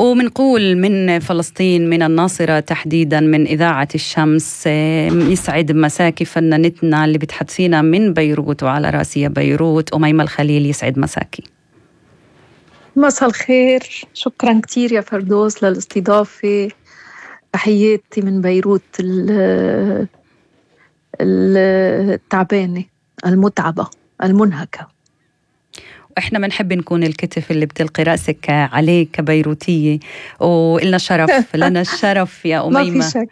ومنقول من فلسطين، من الناصرة تحديدا، من إذاعة الشمس. يسعد مساكي فنانتنا اللي بتحدثينا من بيروت، وعلى راسي بيروت، أميمة الخليل. يسعد مساكي. مساء الخير، شكرا كتير يا فردوس للاستضافة. تحياتي من بيروت التعبانة المتعبة المنهكة. وإحنا بنحب نكون الكتف اللي بتلقي رأسك عليه كبيروتية، وإلنا شرف لنا الشرف يا أميمة، ما في شك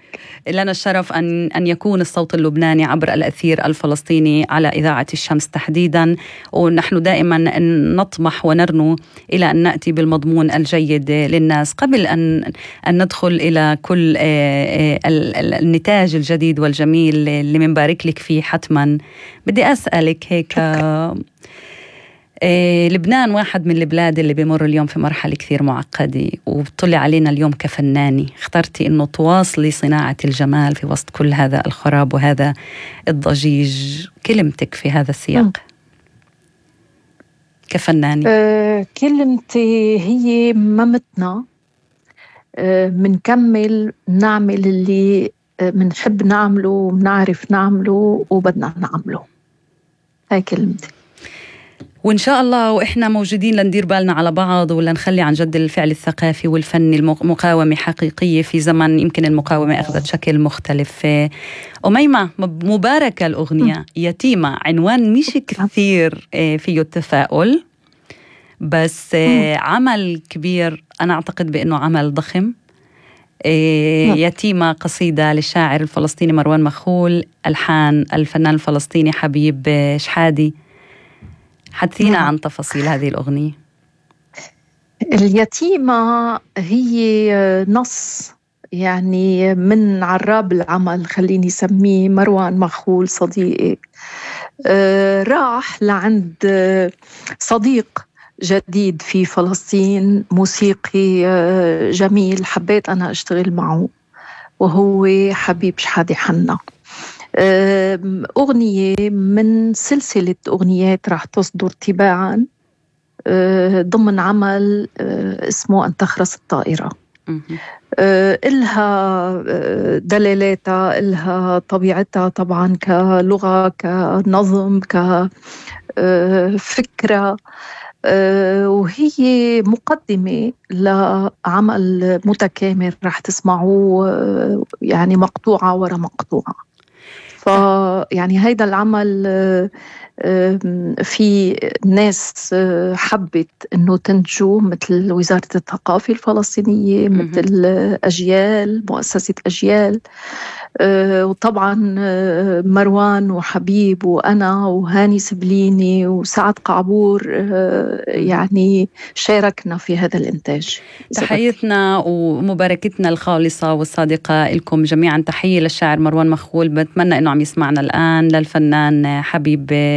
لنا الشرف أن يكون الصوت اللبناني عبر الأثير الفلسطيني على إذاعة الشمس تحديدا. ونحن دائما نطمح ونرنو إلى أن نأتي بالمضمون الجيد للناس. قبل أن ندخل إلى كل النتاج الجديد والجميل اللي منبارك لك فيه حتما، بدي أسألك هيك، لبنان واحد من البلاد اللي بيمر اليوم في مرحلة كثير معقدة، وبتطلع علينا اليوم كفناني اخترتي إنه تواصلي صناعة الجمال في وسط كل هذا الخراب وهذا الضجيج. كلمتك في هذا السياق كفناني؟ كلمتي هي ممتنا، منكمل نعمل اللي منحب نعمله ومنعرف نعمله وبدنا نعمله. هاي كلمتي. وإن شاء الله وإحنا موجودين لندير بالنا على بعض، ولا نخلي عن جد الفعل الثقافي والفني مقاومة حقيقية في زمن يمكن المقاومة أخذت شكل مختلف. أميمة، مباركة الأغنية يتيمة، عنوان مش كثير فيه التفاؤل، بس عمل كبير. أنا أعتقد بأنه عمل ضخم. يتيمة قصيدة للشاعر الفلسطيني مروان مخول، ألحان الفنان الفلسطيني حبيب شحادي. حدثينا عن تفاصيل هذه الأغنية. اليتيمة هي نص يعني من عراب العمل، خليني سميه مروان مخول صديقي. راح لعند صديق جديد في فلسطين، موسيقي جميل، حبيت أنا أشتغل معه، وهو حبيب شحادي حنا. أغنية من سلسلة أغنيات راح تصدر تباعا ضمن عمل اسمه أن تخرس الطائرة. إلها دلالاتها، إلها طبيعتها طبعا كلغة، كنظم، كفكرة، وهي مقدمة لعمل متكامل راح تسمعوه، يعني مقطوعة ورا مقطوعة. يعني هيدا العمل في ناس حبت انه تنتجه، مثل وزارة الثقافة الفلسطينية، مثل أجيال، مؤسسة أجيال، وطبعا مروان وحبيب وأنا وهاني سبليني وسعد قعبور، يعني شاركنا في هذا الإنتاج. تحيتنا ومباركتنا الخالصة والصادقة لكم جميعا. تحية للشاعر مروان مخول، بتمنى أنه عم يسمعنا الآن، للفنان حبيب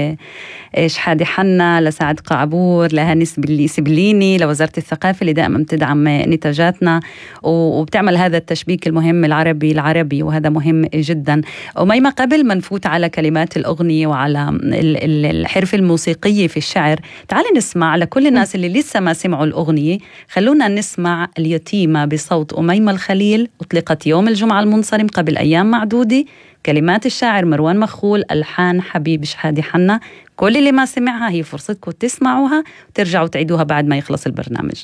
شحادي حنا، لسعد قعبور، لهاني سبليني، لوزارة الثقافة اللي دائما بتدعم نتاجاتنا وبتعمل هذا التشبيك المهم العربي، وهذا مهم جدا. أميمة، قبل ما نفوت على كلمات الأغنية وعلى الحرف الموسيقية في الشعر، تعالي نسمع لكل الناس اللي لسه ما سمعوا الأغنية، خلونا نسمع اليتيمة بصوت أميمة الخليل. أطلقت يوم الجمعة المنصرم قبل أيام معدودة، كلمات الشاعر مروان مخول، ألحان حبيب شحادي حنا. كل اللي ما سمعها هي فرصتكم تسمعوها وترجعوا تعيدوها بعد ما يخلص البرنامج.